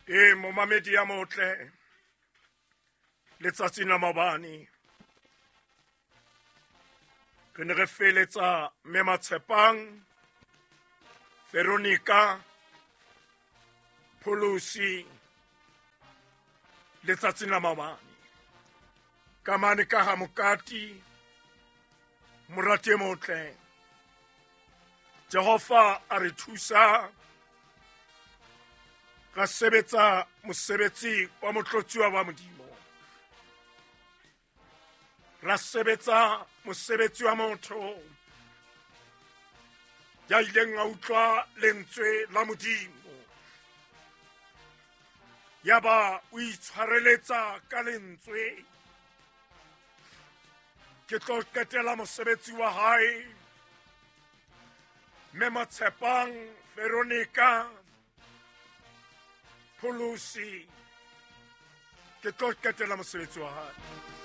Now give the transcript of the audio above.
E momamedi ya motle, letsatsing la maobane re ne re feletsa mme Matshepang Veronica Pholosi letsatsing la maobane ka mane ka ha Mokati. Morati e motle, Jehova a re thusa ra sebetsa mosebetsi wa motlotsuwa wa Modimo, ra sebetsa mosebetsi wa motho ya ileng a utlwa lentswe la Modimo, yaba o itshwareletsa ka lentswe. Ke tlo qetela mosebetsi wa hae mme Matshepang Veronica Pholosi, ke tlo qetela mosebetsi wa hae.